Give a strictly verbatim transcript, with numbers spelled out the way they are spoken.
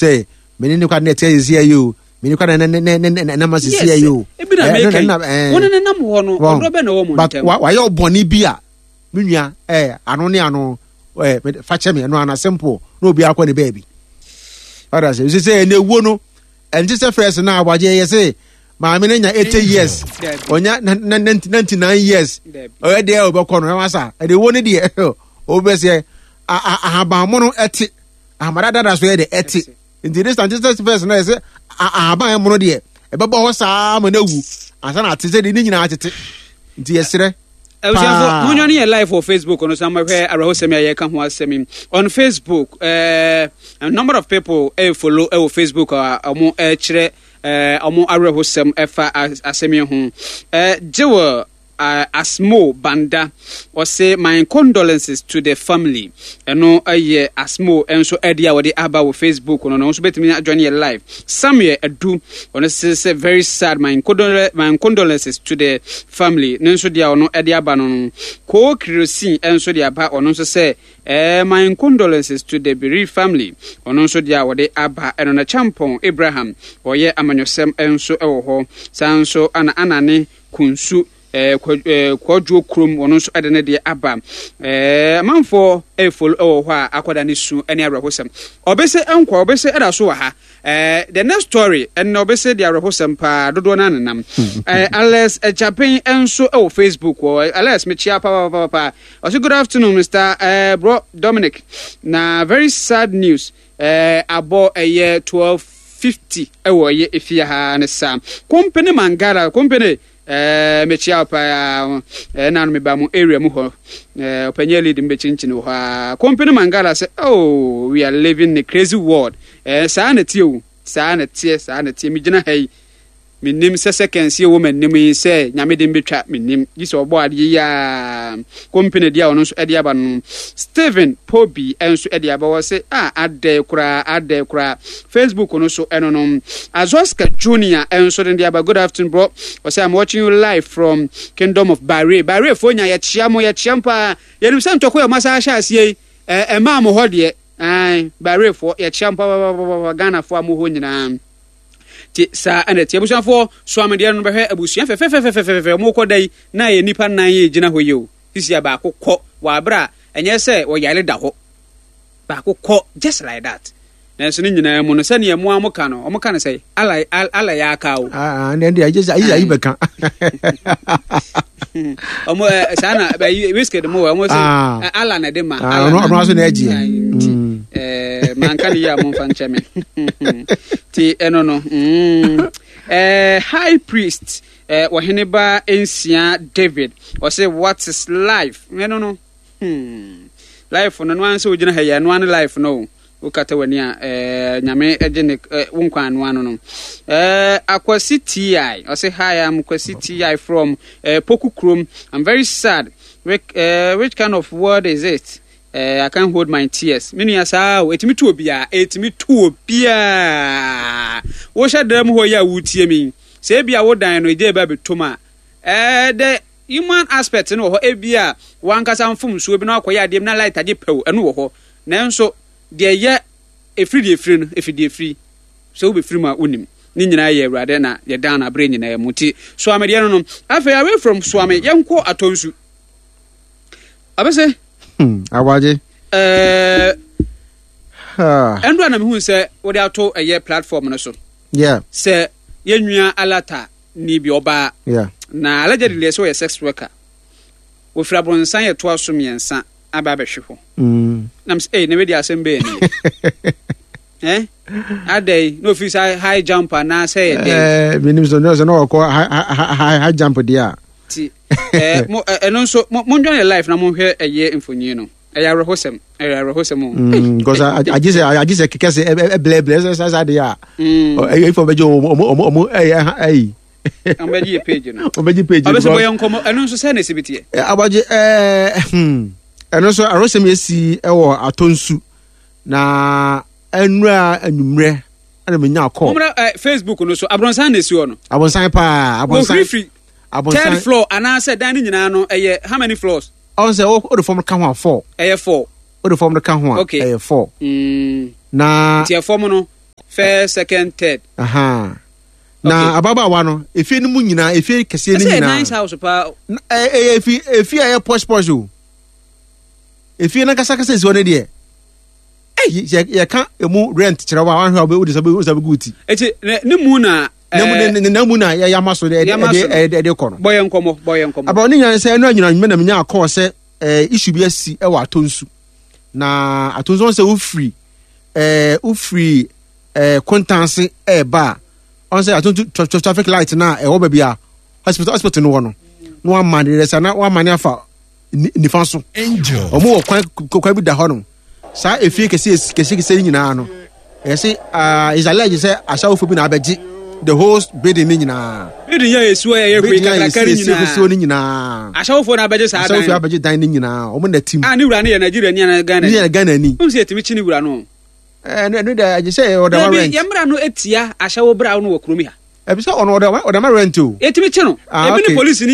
Sɛ mene ne kwa ne ɛteɛ sisi ayi o, mene kwa ne ne ne ne ne nam asisi ayi o. Ebi na meka yi, wɔn ne nam hɔ no, ɔdɔ bɛ na ɛwɔ mo ntɛm. Wayɛ ɔbɔne bi a, me nua, ɛɛ ano ne ano, ɛɛ fa kyɛ me, ɛno ana simple na obi akɔ ne baabi. Ɔda sɛ sɛ sɛ ɛna ewuo no, ɛnte sɛ first na abagye yɛ sɛ maame no nya eighty years, ɔnya ninety nine years, ɔyɛ deɛ ɔbɛkɔ no ɛwɔ sa. Ɛde ewuo no deɛ, ɔbɛsɛ ahabanmono ɛte ahamada dada so yɛ de ɛte, nti this time sɛ first na yɛ sɛ ahaban ɛmono deɛ, ɛbɛbɔ hɔ saa ma no awu ansa na ate sɛ de ne nyinaa tete, nti yɛserɛ. Abusuafo, mo ne yɛ live wɔ Facebook no so na mohwɛ awerɛhosɛm a yɛka ho asɛm yi on Facebook. uh, a number of people eh, follow ɛwɔ Facebook a ɔmo ɛkyerɛ ɔmo awerɛhosɛm ɛfa asɛm yi ho. uh, Jewel uh, Asmo Banda ɔsɛ, "My condolences to the family." Ɛno ɛyɛ Asmo nso ɛde a wɔde aba wɔ Facebook no no nso bɛtumi ajoin yɛ live. Samuel Adu, ɔno sɛ sɛ "Very sad, my, condol my condolences to the family." Ne nso deɛ ɔno ɛde aba no no Koo Kirosin nso de aba, ɔno nso sɛ eh, "My condolences to the bereaved family." Ɔno nso deɛ a wɔde aba ɛno na Champɔn Abraham ɔyɛ amanyɔsɛm nso ɛwɔ hɔ saa nso ana anane Kunsu Kwadwo kurom, ɔno nso de ne deɛ aba. Amanfoɔ ɛfollow ɛwɔ hɔ a akɔda ne su ne awerɛhosɛm. Ɔbɛsɛ nkwa, ɔbɛsɛ ɛda so wɔ ha. The next story ɛnna ɔbɛsɛ de awerɛhosɛm paa dodoɔ no anenam. Alex Chapen nso ɛwɔ Facebook wɔ. Alex, mekyia papaapapa. Ɔsɛ, "Good afternoon, Mister uh, Bro Dominic, na very sad news uh, abɔ ɛyɛ twelve fifty ɛwɔ ɛyɛ efie ha ne saa Company Mangala Company. ɛɛ mekyia wo paa. Ɛna no meba mo area mu hɔ, ɛɛ ɔpanyin lead mu bɛkyinkyini wɔ hɔ a Company Mangala sɛ, "Oh, we are living in a crazy world." ɛɛ saa na tie o, saa na tie, saa na tie. Megyina ha yi, menim sɛ seconds yi wɔ m'anim yi sɛ Nyame de mbɛtwa menim gye sɛ ɔbɔ adeɛ yi a company deɛ a ɔno nso ɛde aba no. Stephen Pobi nso ɛde aba wɔ sɛ a adɛ koraa, adɛ koraa. Facebook no so ɛno no Azoska Junior nso de aba. "Good afternoon, bro." Ɔsɛ, "I'm watching you live from Kingdom of Bahrain." Bahrain foɔ nya, yɛkyia mo, yɛkyia mo paa. Yɛnim sɛ ntɔkwa yɛ ɔmo asa ahyɛ aseɛ yi, ɛmaa mo hɔ deɛ. Ɛn Bahrain foɔ, yɛkyia mo papaapapa. Ghana foɔ a mo hɔ nyinaa nti saa ɛna tie. Abusuafoɔ, soamedeɛ no bɛhwɛ abusua fɛfɛfɛfɛfɛfɛ ɔmo kɔ da yi na yɛ nipa nan yɛ gyina hɔ yi o. Sisi a baako kɔ wɔ abere a ɛnyɛ sɛ wɔyare da hɔ, baako kɔ just like that. Nanso ne nyinaa mu no, sɛnea mo a mo ka no, ɔmo ka no sɛ ala ala yɛ aka o. Aa, ne deɛ agye sɛ ayi ayi bɛka. Ɔmo ɛ saa na ɛyi Wizkid mo wɔ ɔmo sɛ ala na ɛde ma. Ala ɔno ɔno aso na ɛgye. Nti ɛɛ manka ne yie a, mo nfa nkyɛn mi. Ti ɛno no mm ɛɛ high priest ɛɛ ɔhene ba nsia David ɔsɛ, "What is life?" Ɛno no hmm life no no ansɛ ogyina ha yi, ɛno ano life no o. Wokata w'ani a, ɛɛ Nyame gye ne ɛɛ wo nkwa ano ano no. ɛɛ akwasi Ti ɔsɛ, "Hi, I'm Kwasi Ti from ɛɛ Poku kurom. I'm very sad. which, uh, which kind of word is it? uh, I can't hold my tears." Me nua, saa o, etimi tu obiara, etimi tu obiara. Wohyɛ dan mu hɔ yi a wotie mi sɛ ebi a wodan no egye eba betom a, ɛɛ the human aspect no wɔ hɔ. Ebi a wankasa mfomsoɔ bi na wakɔyɛ adeɛ bi na light agye pɛw, ɛno wɔ hɔ. Nanso deɛ yɛ efiri deɛ efiri no, efiri deɛ efiri sɛ wobɛfiri mu a, wonim ne nyinaa yɛ Awurade na yɛdan no aberɛ nyinaa mu. Nti Soame deɛ no no afei, away from Soame, yɛnkɔ Atɔnsu abɛsɛ. Awagye. Ɛɛ ɛndu a na mehu sɛ wode ato ɛyɛ platform no so yeah. sɛ yɛnwua alata ni bi ɔbaa yeah. na allegedly sɛ ɔyɛ sex worker, wɔfiri aborɔnsan yɛtoa so mmiɛnsa aba abɛhwe hɔ. mm. Nam sɛ, ei, na wei asɛm bɛyɛ ni eh adɛn na ofiri sa high jump anaasɛ yɛ dɛn? Eh, menim sɛ sɛ na ɔkɔ high high jump deɛ a. Ti eh, mo ɛno nso mondwane live na monhwɛ ɛyɛ mfonyin no. Ɛyɛ awerɛhosɛm, ɛyɛ awerɛhosɛm o. Mm, because agye sɛ agye sɛ kɛkɛ sɛ ɛblɛblɛ sɛ sɛ sɛ adeɛ a ɛyɛ ifɔ bɛgye ɔmo ɔmo ɔmo ɔmo ɛyɛ ɛyi. Ɔmo bɛgye yɛ page no. Ɔmo bɛgye page no. Ɔbɛsɛ bɔ yɛ nkɔmɔ, ɛno nso sɛ na esi bi teɛ. Abagye, ɛɛ ɛno nso awerɛhosɛm yɛ si ɛwɔ Atɔnsu na ɛnura anwummerɛ ɛna menya kɔ. Mo ɛ Facebook no so, aborɔnsan na esi hɔ no. Abɔnsan paa, abɔnsan. Wɔfirifiri third floor anaasɛ dan no nyinaa no ɛyɛ how many floors? Ɔn sɛ o de fam ka ho a, four. Ɛyɛ four. O de fam ka ho a, Okay. ɛyɛ four. Mm. Na nti ɛfɔm no First, second, third. Aha. Na ababaawa no, efie no mu nyinaa, efie kɛseɛ no Ɛsɛ yɛ nyinaa. Nice house paa. Na- ɛ- ɛyɛ efi efie a ɛyɛ posh posh o. Efie no ankasa kasa esi hɔ no deɛ, yɛ yɛka emu rent kyerɛ wa, wahwɛ a wode sɛ wode sɛ bɛgu ti. Eti ne ne mu na na mu ɛɛ ne ne na mu na yɛyɛ ama so de ɛde Yɛama so no. ɛde ɛde kɔ no. Bɔ yɛn nkɔmɔ, bɔ yɛn nkɔmɔ. Abawo ne nyinaa sɛ ɛno anyina nwuma na menya akɔɔ sɛ ɛɛ issue bi asi ɛwɔ Atonsu. Na Atonsu wɔn sɛ wofiri ɛɛ wofiri ɛɛ Kontanse ɛɛba a, ɔn sɛ Atonsu tra tra traffic light na ɛwɔ baabi a hospital hospital no wɔ no, na wama ne yɛrɛ sɛ na wama ne afa ni- nifa so. Angel. Ɔmo wɔ kwan kwan bi da hɔ no, saa efie kɛse kɛse kɛse nyinaa no, ɛyɛ sɛ aa is alleged sɛ ahyɛwofo bi na abɛgye the whole building ne nyinaa. Building yɛ esuo yɛ yɛ hwee Building a kakraka ne yɛsi esi nyinaa. ne nyinaa. Ahyɛwofoɔ na abɛgye saa Ahyɛwofo dan. abɛgye dan ne nyinaa, ɔmo na tim. A ne wura no yɛ Nigeria ni ana Ghana Ne ni? yɛ Ghana ni. N sɛ yɛtumi kyi ne wura no. Ɛno ɛno de, agye sɛ ɔdama Dabi, rent. yɛn mmara no etia ahyɛwo bra no wɔ kurom ha. Ɛbi sɛ ɔno ɔdama ɔdama rent o. Yɛtumi kyi no. Ah, Ebi ne okay. polisi ni.